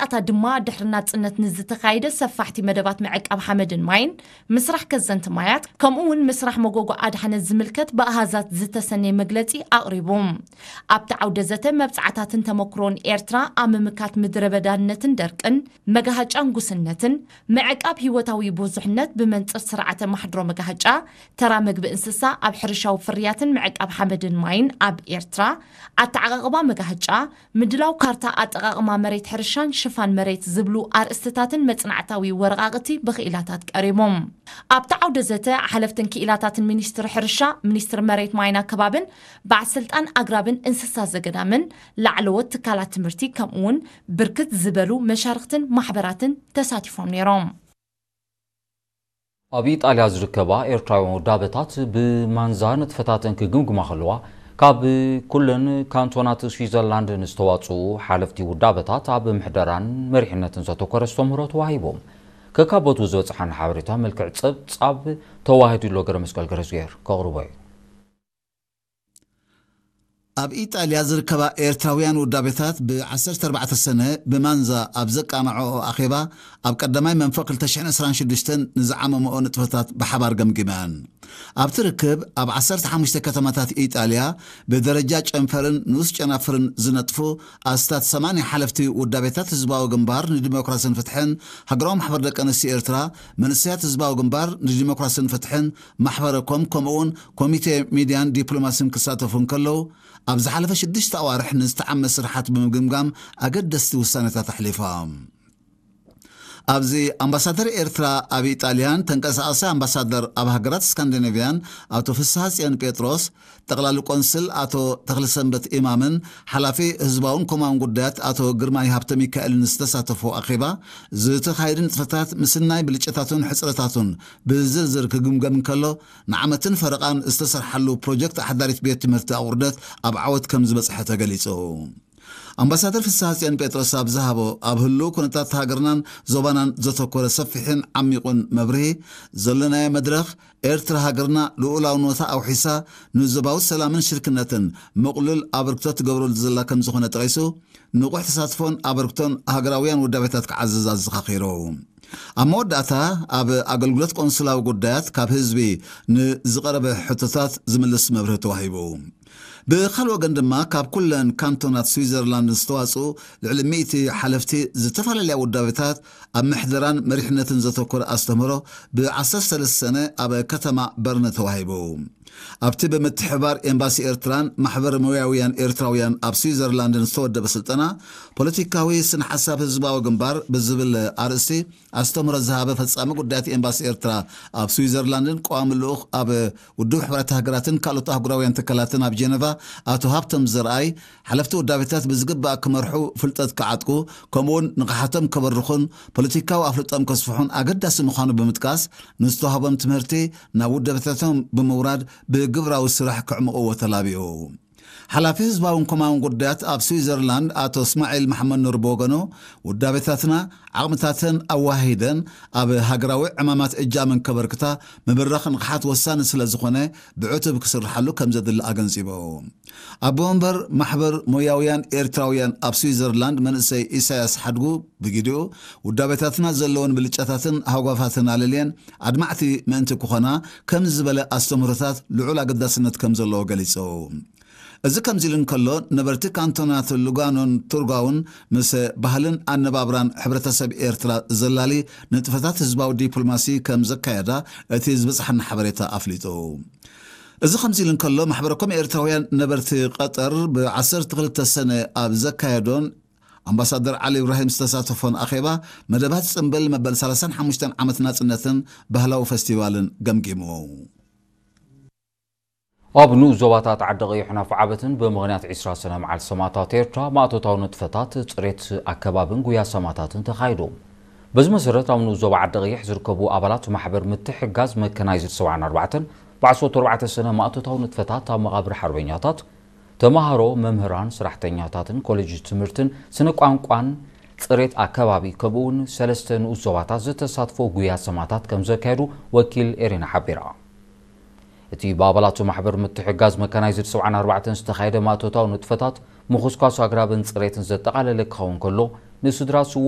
ኣታ ድማ ድሕሪ ናጽነት ንዝተኻየደ ሰፋሕቲ መደባት ምዕቃብ ሓመድን ማይን፣ ምስራሕ ከዘንቲ ማያት፣ ከምኡ እውን ምስራሕ መጎጎ ኣድሓነት ዝምልከት ብኣሃዛት ዝተሰነየ መግለጺ ኣቕሪቡ። ኣብቲ ዓውደ ዘተ መብጻዕታትን ተመክሮን ኤርትራ ኣብ ምምካት ምድረ በዳነትን ደርቅን፣ መጋሃጫን ጉስነትን፣ ምዕቃብ ህይወታዊ ብዙሕነት ብመንጽር ስርዓተ ማሕድሮ መጋሃጫ፣ ተራ መግቢ እንስሳ ኣብ ሕርሻዊ ፍርያትን ምዕቃብ ሓመድን ማይን ኣብ ኤርትራ፣ ኣተዓቓቕባ መጋሃጫ፣ ምድላው ካርታ ኣጠቓቕማ መሬት ሕርሻን ሽፋን መሬት ዝብሉ ኣርእስትታትን መጽናዕታዊ ወረቓቕቲ ብክኢላታት ቀሪቦም። ኣብቲ ዓውደ ዘተ ሓለፍትን ክኢላታትን ሚኒስትሪ ሕርሻ፣ ሚኒስትሪ መሬት ማይና ከባብን በዓል ስልጣን ኣግራብን እንስሳ ዘገዳምን ላዕለዎት ትካላት ትምህርቲ ከምኡውን ብርክት ዝበሉ መሻርክትን ማሕበራትን ተሳቲፎም ነይሮም። ኣብ ኢጣልያ ዝርከባ ኤርትራውያን ውዳበታት ብማንዛ ንጥፈታተን ክግምግማ ከለዋ፣ ካብ ኩለን ካንቶናት ስዊዘርላንድ ንዝተዋጽኡ ሓለፍቲ ውዳበታት ኣብ ምሕደራን መሪሕነትን ዘተኮረ ኣስተምህሮ ተዋሂቦም። ከካበቱ ዝበጽሓና ሓበሬታ መልክዕ ጸብጻብ ተዋሂዱ ኣሎ። ገረ መስቀል ገረዝጌር ከቕርቦ እዩ። ኣብ ኢጣልያ ዝርከባ ኤርትራውያን ውዳቤታት ብ ዓሰርተ ኣርባዕተ ሰነ ብማንዛ ኣብ ዘቃንዐኦ ኣኼባ፣ ኣብ ቀዳማይ መንፈቕ ክልተ ሽሕን ዕስራን ሽዱሽተን ንዝዓመመኦ ንጥፈታት ብሓባር ገምጊመን። ኣብቲ ርክብ፣ ኣብ ዓሰርተ ሓሙሽተ ከተማታት ኢጣልያ ብደረጃ ጨንፈርን ንኡስ ጨናፍርን ዝነጥፉ ኣስታት ሰማንያ ሓለፍቲ ውዳቤታት ህዝባዊ ግንባር ንዲሞክራስን ፍትሕን፣ ሃገራዊ ማሕበር ደቂ ኣንስትዮ ኤርትራ፣ መንእሰያት ህዝባዊ ግንባር ንዲሞክራስን ፍትሕን፣ ማሕበረ ኮም፣ ከምኡ'ውን ኮሚቴ ሚድያን ዲፕሎማስን ክሳተፉ እንከለዉ፣ ኣብ ዝሓለፈ ሽዱሽተ ኣዋርሕ ንዝተዓመ ስራሓት ብምግምጋም ኣገደስቲ ውሳነታት ኣሕሊፎም። ኣብዚ ኣምባሳደር ኤርትራ ኣብ ኢጣልያን ተንቀሳቓሳይ ኣምባሳደር ኣብ ሃገራት ስካንዲኔቭያን ኣቶ ፍስሃጽዮን ጴጥሮስ፣ ጠቕላሊ ቆንስል ኣቶ ተኽለሰንበት ኢማምን ሓላፊ ህዝባውን ኮማውን ጉዳያት ኣቶ ግርማይ ሃብተሚካኤልን ዝተሳተፎ ኣኼባ፣ ዝተኻየዱ ንጥፈታት ምስናይ ብልጫታቱን ሕጽረታቱን ብዝርዝር ክግምገም እንከሎ፣ ንዓመትን ፈረቓን ዝተሰርሓሉ ፕሮጀክት ኣሕዳሪት ቤት ትምህርቲ ኣቑርደት ኣብ ዓወት ከም ዝበጽሐ ተገሊጹ። ኣምባሳደር ፍስሃጽዮን ጴጥሮስ ኣብ ዝሃቦ፣ ኣብ ህሉው ኩነታት ሃገርናን ዞባናን ዘተኮረ ሰፊሕን ዓሚቑን መብርሂ፣ ዘለናዮ መድረኽ፣ ኤርትራ ሃገርና ልኡላውነታ ኣውሒሳ ንዞባዊ ሰላምን ሽርክነትን ምቕሉል ኣበርክቶ ትገብረሉ ዘላ ከም ዝኾነ ጠቒሱ፣ ንቑሕ ተሳትፎን ኣበርክቶን ሃገራውያን ውዳቤታት ክዓዝዝ ኣዘኻኺሩ። ኣብ መወዳእታ፣ ኣብ ኣገልግሎት ቆንስላዊ ጉዳያት ካብ ህዝቢ ንዝቐረበ ሕቶታት ዝምልስ መብርሂ ተዋሂቡ። ብኻልእ ወገን ድማ፣ ካብ ኩለን ካንቶናት ስዊዘርላንድ ዝተዋጽኡ ልዕሊ ሚእቲ ሓለፍቲ ዝተፈላለያ ውዳቤታት ኣብ ምሕደራን መሪሕነትን ዘተኮረ ኣስተምህሮ ብ ዓሰርተ ሰለስተ ሰነ ኣብ ከተማ በርነ ተዋሂቡ። ኣብቲ ብምትሕብባር ኤምባሲ ኤርትራን ማሕበር ሞያውያን ኤርትራውያን ኣብ ስዊዘርላንድን ዝተወደበ ስልጠና፣ ፖለቲካዊ ስነ ሓሳብ ህዝባዊ ግንባር ብዝብል ኣርእስቲ ኣስተምህሮ ዝሃበ ፈጻሚ ጉዳያት ኤምባሲ ኤርትራ ኣብ ስዊዘርላንድን ቀዋሚ ልኡኽ ኣብ ውድብ ሕቡራት ሃገራትን ካልኦት ኣህጉራውያን ትካላትን ኣብ ጀነቫ ኣቶ ሃብቶም ዘርኣይ፣ ሓለፍቲ ውዳቤታት ብዝግባእ ክመርሑ፣ ፍልጠት ክዓጥቁ፣ ከምኡውን ንቕሓቶም ከበርኹን ፖለቲካዊ ኣፍልጦም ከስፍሑን ኣገዳሲ ምዃኑ ብምጥቃስ፣ ንዝተዋህቦም ትምህርቲ ናብ ውዳቤታቶም ብምውራድ ብግብራዊ ስራሕ ከዕምቕዎ ተላቢኡ። ሓላፊ ህዝባውን ኮማውን ጉዳያት ኣብ ስዊዘርላንድ ኣቶ እስማዒል መሓመድ ኑር ብወገኑ፣ ውዳቤታትና ዓቕምታተን ኣዋሃሂደን ኣብ ሃገራዊ ዕማማት እጃመን ከበርክታ ምብራኽ ንቕሓት ወሳኒ ስለ ዝኾነ፣ ብዕቱብ ክስርሓሉ ከም ዘድሊ ኣገንዚቡ። ኣቦ መንበር ማሕበር ሞያውያን ኤርትራውያን ኣብ ስዊዘርላንድ መንእሰይ ኢሳያስ ሓድጉ ብግዲኡ፣ ውዳቤታትና ዘለወን ብልጫታትን ሃጓፋትን ኣለልየን ኣድማዕቲ ምእንቲ ክኾና ከም ዝበለ ኣስተምህሮታት ልዑል ኣገዳስነት ከም ዘለዎ ገሊጹ። እዚ ከምዚ ኢሉ እንከሎ፣ ነበርቲ ካንቶናት ሉጋኖን ቱርጋውን ምስ ባህልን ኣነባብራን ሕብረተሰብ ኤርትራ ዘላሊ ንጥፈታት ህዝባዊ ዲፕሎማሲ ከም ዘካየዳ እቲ ዝበጽሓና ሓበሬታ ኣፍሊጡ። እዚ ከምዚ ኢሉ እንከሎ፣ ማሕበረ ኮም ኤርትራውያን ነበርቲ ቀጠር ብ ዓሰርተ ክልተ ሰነ ኣብ ዘካየዶን ኣምባሳደር ዓሊ ኢብራሂም ዝተሳተፎን ኣኼባ፣ መደባት ጽምብል መበል ሰላሳን ሓሙሽተን ዓመት ናጽነትን ባህላዊ ፈስቲቫልን ገምጊሙ። ኣብ ንኡስ ዞባታት ዓዲ ቀይሕን ኣፍዓበትን ብምኽንያት ዒስራ ሰነ መዓልቲ ሰማእታት ኤርትራ ማእቶታዊ ንጥፈታት ጽሬት ኣከባብን ጉያ ሰማእታትን ተኻይዱ። በዚ መሰረት ኣብ ንኡስ ዞባ ዓዲ ቀይሕ ዝርከቡ ኣባላት ማሕበር ምትሕግጋዝ መከናይዝድ ሰብዓን ኣርባዕተን ብዓሰርተ ኣርባዕተ ሰነ ማእቶታዊ ንጥፈታት ኣብ መቓብር ሓርበኛታት፣ ተማሃሮ፣ መምህራን፣ ስራሕተኛታትን ኮሌጅ ትምህርትን ስነ ቋንቋን ጽሬት ኣከባቢ ከምኡውን ሰለስተ ንኡስ ዞባታት ዝተሳትፎ ጉያ ሰማእታት ከም ዘካየዱ ወኪል ኤሪና ሓቢራ። እቲ ብኣባላቱ ማሕበር ምትሕጋዝ መካናይዝድ ሰብዓን ኣርባዕተን ዝተኻየደ ማእቶታዊ ንጥፈታት ምኹስኳስ ኣግራብን ጽሬትን ዘጠቓለለ ክኸውን ከሎ፣ ንስድራ